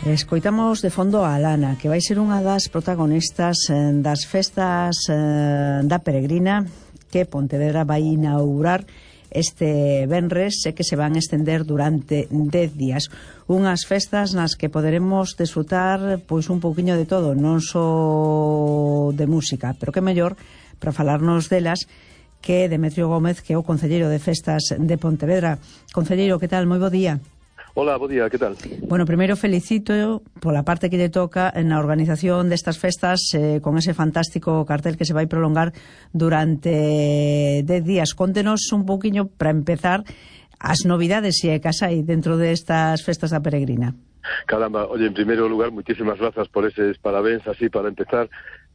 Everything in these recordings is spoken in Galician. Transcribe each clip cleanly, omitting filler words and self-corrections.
Escoitamos de fondo a Alana, que vai ser unha das protagonistas das festas da Peregrina que Pontevedra vai inaugurar este venres e que se van estender durante 10 días. Unhas festas nas que poderemos desfrutar pois un pouquiño de todo, non só de música, pero que mellor para falarnos delas que Demetrio Gómez, que é o concelleiro de festas de Pontevedra. Concelleiro, que tal? Moi bo día. Hola, bo día, que tal? Bueno, primeiro felicito pola parte que lle toca na organización destas festas con ese fantástico cartel que se vai prolongar durante 10 días. Contenos un pouquiño, para empezar, as novidades e que as hai dentro destas festas da Peregrina. Caramba, oye, en primeiro lugar, muchísimas grazas por eses parabéns, así para empezar.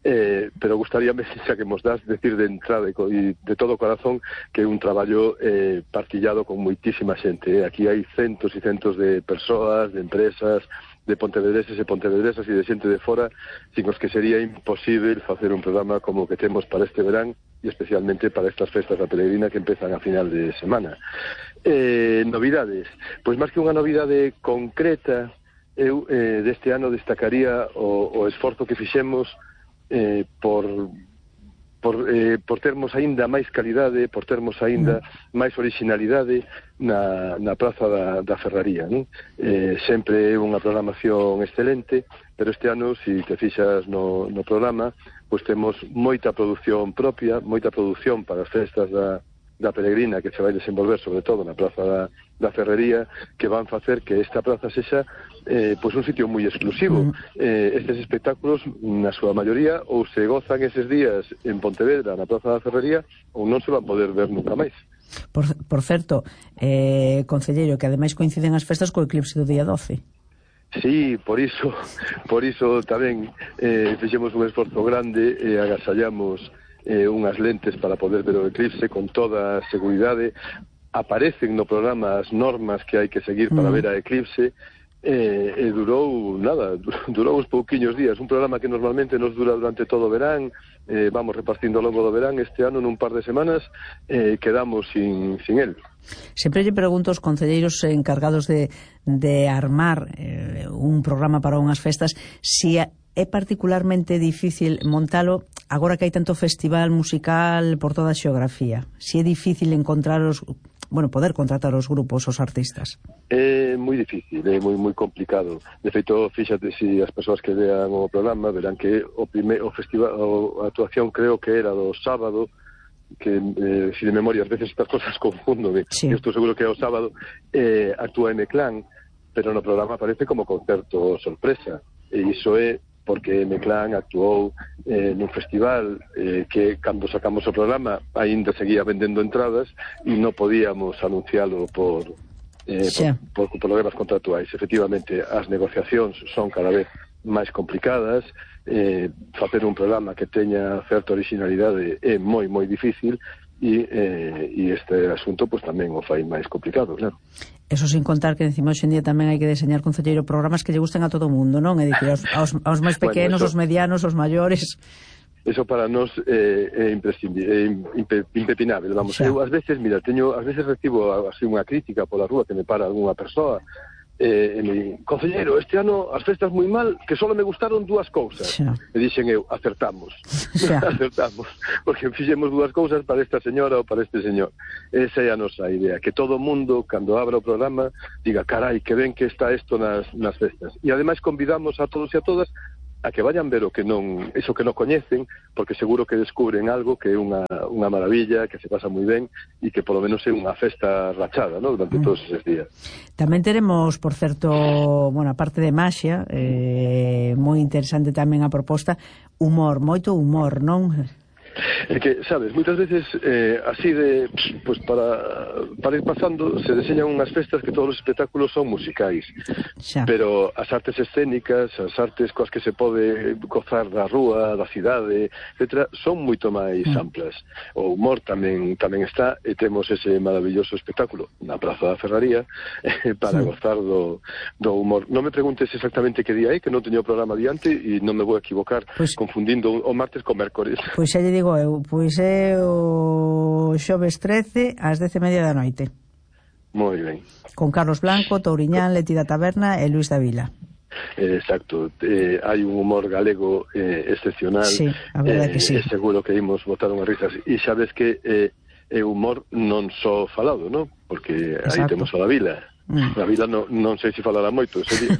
Pero gustaríame, xa que mos das, decir de entrada e de todo corazón que é un traballo partillado con moitísima xente. Aquí hai centos e centos de persoas, de empresas, de pontevedreses e pontevedresas e de xente de fora, sin os que sería imposible facer un programa como o que temos para este verán e especialmente para estas festas da Peregrina que empezan a final de semana. Novidades, pois máis que unha novidade concreta, eu deste ano destacaría o esforzo que fixemos por termos aínda máis calidade, por termos aínda máis originalidade na Praza da Ferraría, non? Sempre é unha programación excelente, pero este ano, se te fixas no programa, pois temos moita produción propia, moita produción para as festas da Peregrina que se vai desenvolver sobre todo na Praza da Ferrería, que van facer que esta praza sexa pois un sitio moi exclusivo. Estes espectáculos, na súa maioría, ou se gozan eses días en Pontevedra, na Praza da Ferrería, ou non se van poder ver nunca máis. Por certo, concelleiro, que ademais coinciden as festas co eclipse do día 12. Sí, por iso tamén fixemos un esforzo grande e agasallamos unhas lentes para poder ver o eclipse con toda a seguridade. Aparecen no programa as normas que hai que seguir para ver a eclipse e durou uns pouquiños días, un programa que normalmente nos dura durante todo o verán, vamos repartindo ao longo do verán. Este ano nun par de semanas quedamos sin el. Sempre lle pregunto aos concelleiros encargados de armar un programa para unhas festas si é particularmente difícil montalo agora que hai tanto festival musical por toda a xeografía, si é difícil poder contratar os grupos, os artistas. É moi difícil, é moi complicado. De feito, fíxate, se as persoas que vean o programa verán que o festival, a actuación creo que era do sábado, que si de memoria ás veces estas cosas confundo, sí. Eu estou seguro que é o sábado, actúa M-Clan, pero no programa aparece como concerto sorpresa, e iso é porque M-Clan actuou nun festival que cando sacamos o programa aínda seguía vendendo entradas e non podíamos anuncialo por problemas contractuais. Efectivamente, as negociacións son cada vez máis complicadas, facer un programa que teña certa originalidade é moi difícil e este asunto pues tamén o fai máis complicado, claro. Eso sin contar que encima hoxe en día tamén hai que deseñar, concelleiro, programas que lle gusten a todo o mundo, non? É dicir, aos máis pequenos, aos medianos, aos maiores. Eso para nós é impepinable, vamos. Eu ás veces, ás veces recibo así unha crítica pola rúa que me para algunha persoa. Concelleiro, este ano as festas moi mal, que só me gustaron dúas cousas. E dixen eu, acertamos. Acertamos, porque fixemos dúas cousas para esta señora ou para este señor. Esa é a nosa idea, que todo o mundo, cando abra o programa, diga, carai, que ben que está isto nas festas. E ademais convidamos a todos e a todas a que vayan ver eso que non coñecen, porque seguro que descubren algo que é unha maravilla, que se pasa moi ben e que polo menos é unha festa rachada, ¿no?, durante todos eses días. Tamén teremos, por certo, a parte de maxia, moi interesante tamén a proposta, moito humor, non? É que, sabes, moitas veces así pues para ir pasando se deseñan unhas festas que todos os espectáculos son musicais, pero as artes escénicas, as artes coas que se pode gozar da rúa, da cidade, etc., son moito máis amplas. O humor tamén está, e temos ese maravilloso espectáculo na Praza da Ferraría para gozar do humor. Non me preguntes exactamente que día é, que non teño o programa diante e non me vou equivocar confundindo o martes con mércores. Pois xa lle digo eu, pois é o xoves 13 ás 10:30 da noite. Moi ben. Con Carlos Blanco, Touriñán, Leti da Taberna e Luis da Vila. Exacto, hai un humor galego excepcional. Sí, a verdade que sí. Seguro que imos botar unhas risas. E sabes que é humor non só falado, non? Porque aí temos a Vila. A Vila non sei se falará moito ese día.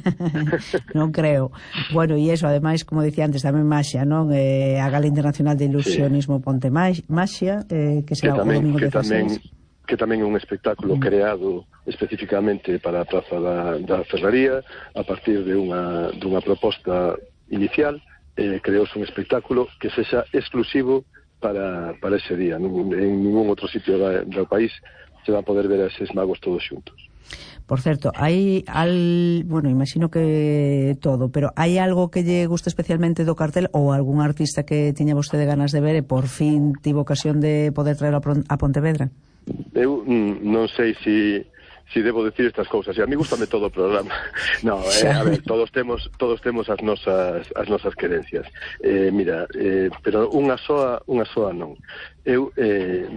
Non creo. Bueno, e iso, ademais, como dicía antes, tamén Maxia, non? A Gala Internacional de Ilusionismo Ponte Maxia, que será o domingo 16. Que tamén é un espectáculo creado especificamente para a Praza da Ferraría, a partir de unha proposta inicial, creouse un espectáculo que sexa exclusivo para ese día. En ningún outro sitio do país se va a poder ver a eses magos todos xuntos. Por certo, bueno, imagino que todo, pero hai algo que lle gusta especialmente do cartel ou algún artista que tiña vostede ganas de ver e por fin tivo ocasión de poder traer a Pontevedra? Eu non sei se debo decir estas cousas, e a mí gustame todo o programa. No, a ver, todos temos as nosas querencias. Mira, pero unha soa non. Eu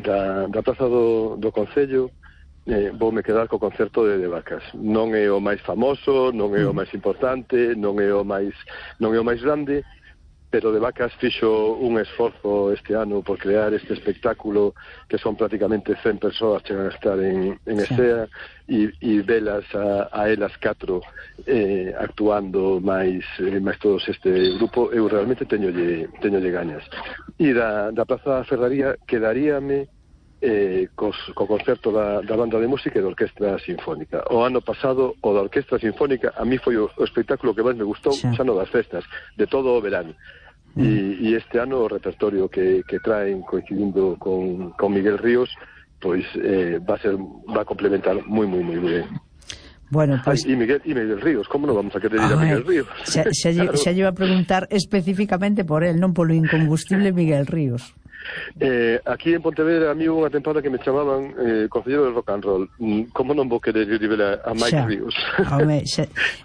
da Praza do Concello voume quedar co concerto de Vacas. Non é o máis famoso, non é o máis importante, non é o máis grande, pero de Vacas fixo un esforzo este ano por crear este espectáculo que son prácticamente 100 persoas chegan a estar en Estea e velas a elas 4 actuando máis todos este grupo. Eu realmente teñolle gañas. E da Praza da Ferraría quedaríame co concerto da banda de música e da Orquestra Sinfónica. O ano pasado o da Orquestra Sinfónica a mí foi o espectáculo que máis me gustou, xa no das festas, de todo o verano. E este ano o repertorio que traen coincidindo con Miguel Ríos, pois va a complementar moi ben. Bueno, pues... y Miguel Ríos, como non vamos a querer ir a Miguel Ríos? Xa lle iba a preguntar especificamente por él, non polo incombustible Miguel Ríos. Aquí en Pontevedra a mí unha tempada que me chamaban concelleiro de rock and roll. Como non vou querer ir a Mike Ríos?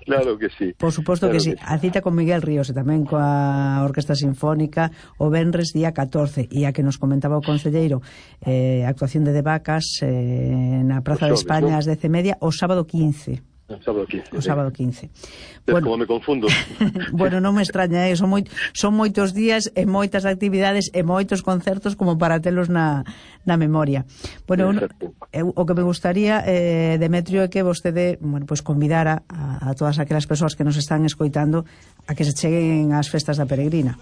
Claro que sí. Por suposto que sí. A cita con Miguel Ríos e tamén coa Orquestra Sinfónica o venres día 14, e a que nos comentaba o concelleiro, actuación de Vacas na Praza de España ás 10:30 o sábado 15. O sábado 15. Bueno, como me confundo. Bueno, non me extraña, son moitos días e moitas actividades e moitos concertos como para telos na memoria. Bueno, o que me gustaría, Demetrio, é que vostede, bueno, pues convidara a todas aquelas persoas que nos están escoitando a que se cheguen ás festas da Peregrina.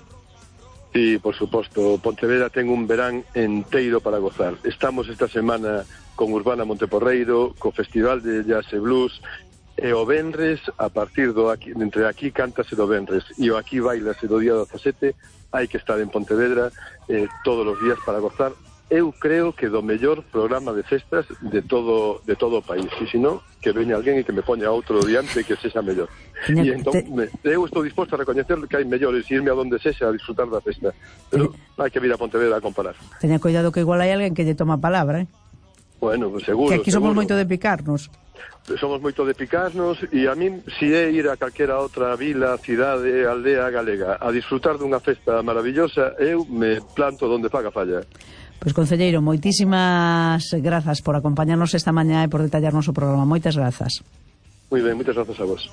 Sí, por suposto. Pontevedra ten un verán enteiro para gozar. Estamos esta semana con Urbana Monteporreiro, co Festival de Jazz e Blues, e o venres, a partir entre aquí cántase do venres e o aquí bailase do día 17, hai que estar en Pontevedra todos os días para gozar. Eu creo que do mellor programa de festas de todo o país, e se non, que veña alguén e que me poña outro diante que sexa mellor. E entón, eu estou disposto a recoñecer que hai mellores e irme a donde sexa a disfrutar da festa, pero hai que vir a Pontevedra a comparar. Teña cuidado que igual hai alguén que lle toma palabra, Bueno, pues seguro. Que aquí somos moito de picarnos. Somos moito de picarnos, e a min, si é ir a calquera outra vila, cidade, aldea galega a disfrutar dunha festa maravillosa, eu me planto donde faga falla. Pois, concelleiro, moitísimas grazas por acompañarnos esta mañá e por detallarnos o programa. Moitas grazas. Moi ben, moitas grazas a vos.